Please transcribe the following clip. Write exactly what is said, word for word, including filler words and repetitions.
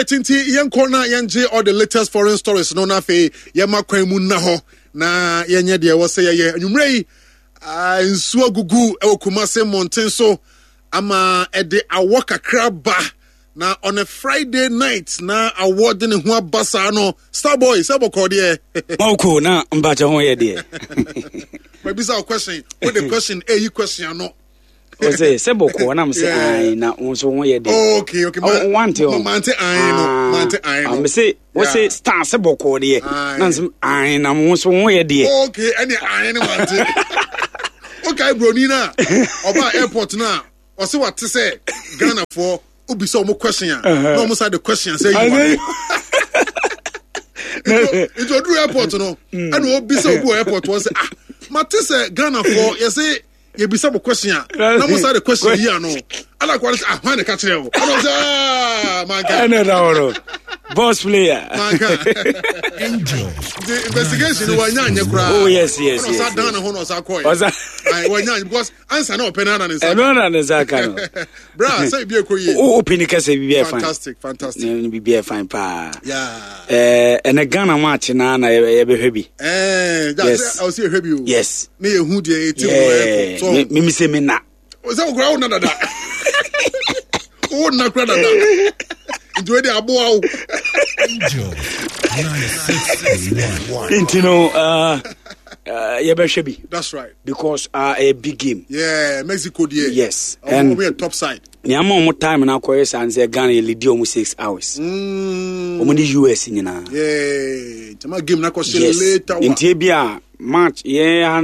Nti yɛnkɔ na yɛngye all the latest foreign stories no, na afei yɛma kwan mu nna hɔ na yɛnyɛ deɛ ɛwɔ sɛ yɛyɛ. Anwummerɛ yi, ah, nsuo agugu wɔ Kumase mmɔnten so ama ɛde awɔ kakra ba, na on a Friday night na awɔ de ne ho aba saa no. Starboy, sɛ bɔkɔɔ deɛ? Mɔko na mpakyɛ ho yɛ deɛ. Mabisa wo question, wode question ɛyi question ano. Ɔsɛ sɛ bɔkɔɔ nam sɛ ae na wo nso ho yɛ deɛ. Okay okay ma wante o, mante ae no, mante ae no. Mese wo se star sɛ bɔkɔɔ deɛ, na nsɛm ae na wo nso ho yɛ deɛ. Okay, ɛne ae no mante. Okay, broni no a ɔbaa airport no a ɔsɛ wate sɛ Ghanafoɔ wobisa ɔmo question a na ɔmo sa de question sɛ yi wa, nti ɔduru airport no ɛna ɔbisa obi wɔ airport wɔ sɛ, "Ah, mate sɛ Ghanafoɔ yɛsɛ yɛbisa mo question a na mo sa de question yi ano." Ala kɔ sɛ, "Ah, hwan ne ka kyerɛ wo?" Ɛna ɔsɛ, "Ah, manka." Ɛna ɛda hɔ no, boss player. Manka. Nti investigation no wanya anyɛ koraa. Oh yes yes yes. Ɔsa dan ne ho na ɔsa kɔɛ. Ɔsa wanya anyɛ because ansa na ɔpɛ no ana ne nsa. Ɛno ana ne nsa ka no. Bra sɛ ebi ekɔ yie. O open kɛsɛ bibi yɛ fine. Fantastic, fantastic. Bibi yɛ fine paa. Yeah. Ɛɛ ɛnɛ Ghana match na na yɛbɛhwɛ bi. Ɛɛ yes. Ɔsi ehwɛ bi o. Yes. Ne yɛ hu deɛ eti mu ɛkɔ. So mi mi se mi na. Sɛ okura wo na dada. Wo na kura dada. Nti o de aboa wo. Nti no uh, uh, yɛbɛhwɛ bi. That's right. Because uh, a big game. Yeah, Mexico deɛ. Yes. And ɔmo yɛ top side. Nea ama ɔmo time na akɔyɛ saa nsɛ Ghana yɛ lead ɔmo six hours. Mm. Ɔmo ne U S nyinaa. Yeah. Jama game na kɔ hyɛ yes later wa. Nti ebi a match yɛn ha.